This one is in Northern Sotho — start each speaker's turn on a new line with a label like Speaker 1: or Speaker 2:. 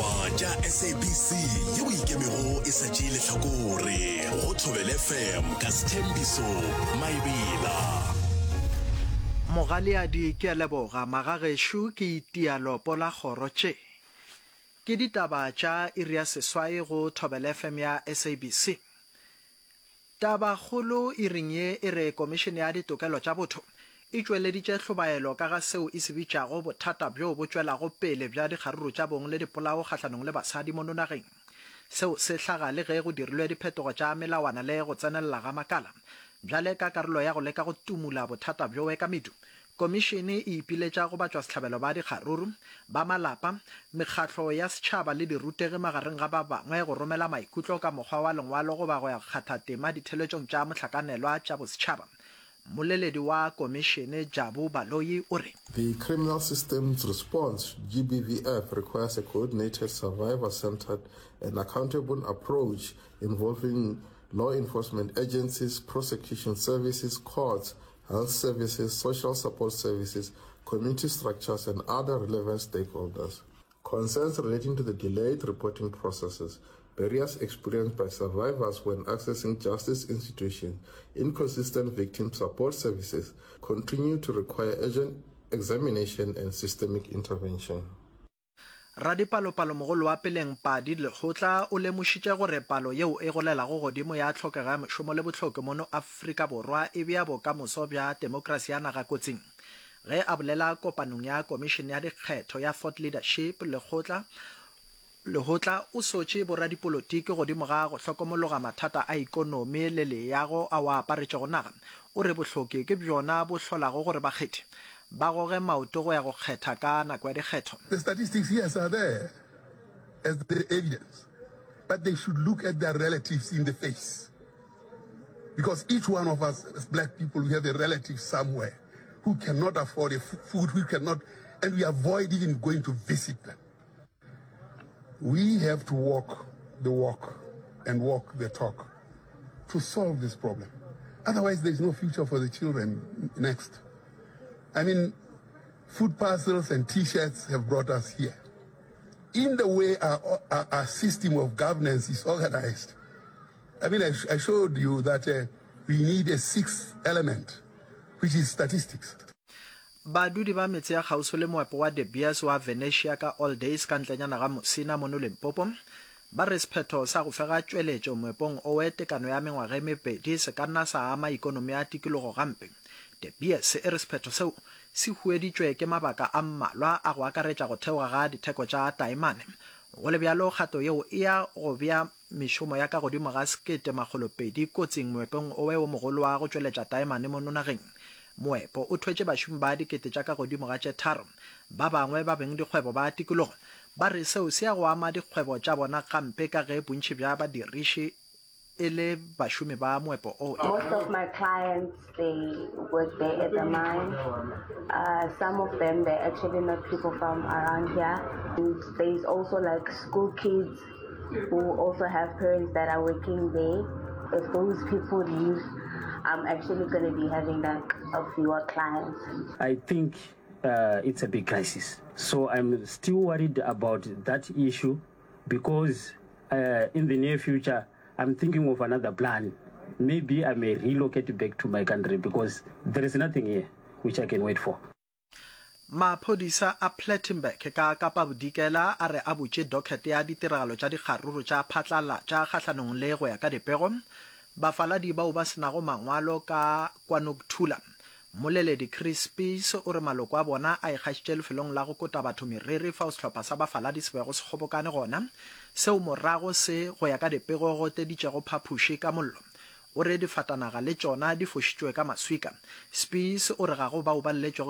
Speaker 1: Ditaba tša SABC yeo e ikemego e sa tšee lehlakore go Thobela FM ka Sthembiso Maebela.
Speaker 2: Mogaleadi ke a leboga magagešo ke itia lopo la kgoro tše. Ke ditaba tša iri ya seswai go Thobela FM ya SABC. Tabakgolo iring ye e re Komišene ya Ditokelo tša Botho e tšweleditše hlobaelo ka ga seo e se bitšago bothata bjo bo tšwelago pele bja dikgaruru tša bong le dipolao kgahlanong le basadi mono nageng. Seo se hlaga le ge go dirilwe diphetogo tša melawana le go tsenelela ga makala. Bjale ka karolo ya go leka go tumula bothata bjoe ka medu, Komišene e ipiletša go batšwasehlabelo ba dikgaruru, ba malapa, mekgatlo ya setšhaba le dirutegi magareng ga ba bangwe go romela maikutlo ka mokgwa wa lengwalo goba go ya go kgatha tema ditheletšong tša mohlakanelwa tša bosetšhaba. Mmoleledi wa komišene Jabu Baloyi o re.
Speaker 3: The criminal system's response to GBVF requires a coordinated, survivor-centered and accountable approach involving law enforcement agencies, prosecution services, courts, health services, social support services, community structures and other relevant stakeholders. Concerns relating to the delayed reporting processes, barriers experienced by survivors when accessing justice institutions, inconsistent victim support services continue to require urgent examination and systemic intervention.
Speaker 2: Radipalopalomogolo wa peleng Padi Lekgotla o lemošitše gore palo yeo e golelago godimo ya tlhokego ya mešomo le bohloki mono Afrika Borwa e bea bokamoso bja temokrasi ya naga kotsing. Ge a bolela kopanong ya Komišene ya Dikgetho ya Thought Leadership, Lekgotla Lehotla o sotše boradipolotiki godimo ga go hlokomologa mathata a ikonomi le leago ao a aparetšego naga. O re bohloki ke bjona bo hlolago gore bakgethi ba goge maoto go ya go kgetha ka nako ya dikgetho.
Speaker 4: The statistics, yes, are there as the evidence, but they should look at their relatives in the face. Because each one of us as black people, we have a relative somewhere who cannot afford a food, who cannot, and we avoid even going to visit them. We have to walk the walk and walk the talk to solve this problem. Otherwise, there's no future for the children next. I mean, food parcels and T-shirts have brought us here. In the way our, our, our system of governance is organized, I mean, I, I showed you that uh, we need a sixth element, which is statistics.
Speaker 2: Badudi ba metse ya kgauswi le moepo wa De Beers wa Venetia ka Alldays ka ntlenyana ga Musina mono Limpopo ba re sephetho sa go fega tšweletšo moepong owe tekano ya mengwaga e mebedi se ka nna sa ama ikonomi ya tikologo gampe. De Beers e re sephetho seo se hueditšwe ke mabaka a mmalwa a go akaretša go theoga ga ditheko tša taemane. Go le bjalo kgato yeo e ya go bea Mešomo ya ka godimo ga 1200 kotsing moepong owe wo mogolo wa go tšweletša taemane mono nageng. Moepo o thwetše bašomi ba dikete tša ka godimo ga tše tharo. Ba bangwe ba bengdikgwebo ba tikologo ba re seo se ya go ama dikgwebo tša bona gampe ka ge bontši bja badiriši e le bašomi ba moepo owe.
Speaker 5: Most of my clients they work there at the mine. Uh, some of them they're actually not people from around here. And there's also like school kids who also have parents that are working there. If those people leave, I'm actually going to be having like a fewer clients.
Speaker 6: I think uh, it's a big crisis. So I'm still worried about that issue because uh, in the near future, I'm thinking of another plan. Maybe I may relocate back to my country because there is nothing here which I can wait for.
Speaker 2: Maphodisa a Plettenberg ka Kapa Bodikela a re a butše docket ya ditiragalo tša dikgaruru tša phatlalatša kgahlanong le, go ya ka dipego, bafaladi bao ba se nago mangwalo ka KwaNokuthula. Mmoleledi Chris Spies o re maloko a bona a ikgašitše lefelong la go kota batho meriri fao sehlopha sa bafaladi se bego se kgobokane gona, seo morago se, go ya ka dipego, goteditšego phapoši ka mollo. O re difatanaga le tšona di fošitšwe ka maswika. Spies o re ga go bao ba lletšwego.